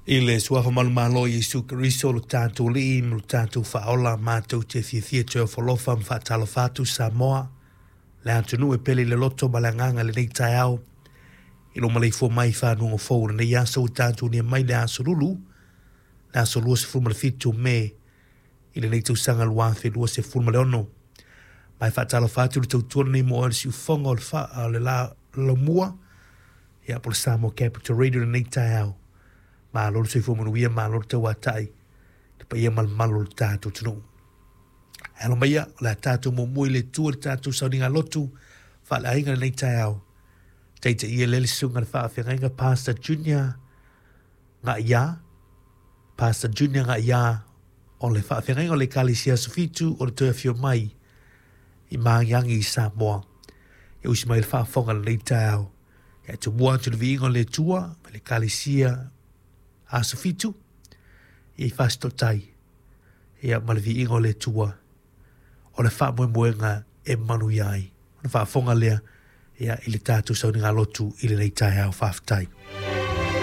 I le suafa manumalo o Iesu Keriso lo tatou Alii ma lo tatou Faaola, matou te fiafia toe ofo alofa ma faatalofa atu Samoa, le atunuu e pele i le loto ma le agaga i lenei taeao, i lou maleifua mai i fanuaga fou o lenei aso ua tatou nia mai le aso Lulu, le aso 27 o Me i lenei tausaga 2026. Ma e faatalofa atu le tautua lenei mo oe le siufofoga o le, fa, o le la, laumua, ia po o le Samoa Capital Radio lenei taeao. Malo le soifua manuia, malo le tauatai, le paia ma le mamalu o le tatou atunuu. Ae alo maia, o le a tatou muamua i le Atua i le tatou sauniga lotu faaleaiga lenei taeao. Taitaia lea le susuga i le faafeagaiga Pastor Junior Ngaia, Pastor Junior Ngaia o le faafeagaiga o le Ekalesia Aso Fitu o le toe afio mai i Magiagi i Samoa. E usi mai le faafofoga i lenei taeao. E tumua atu le viiga o le Atua ma le Ekalesia Aso Fitu i Fasitotai ia ma le viiga o le Atua o le faamoemoega e manuia ai. Ona faafofoga lea ia i le tatou sauniga lotu i lenei taeao. Faafetai.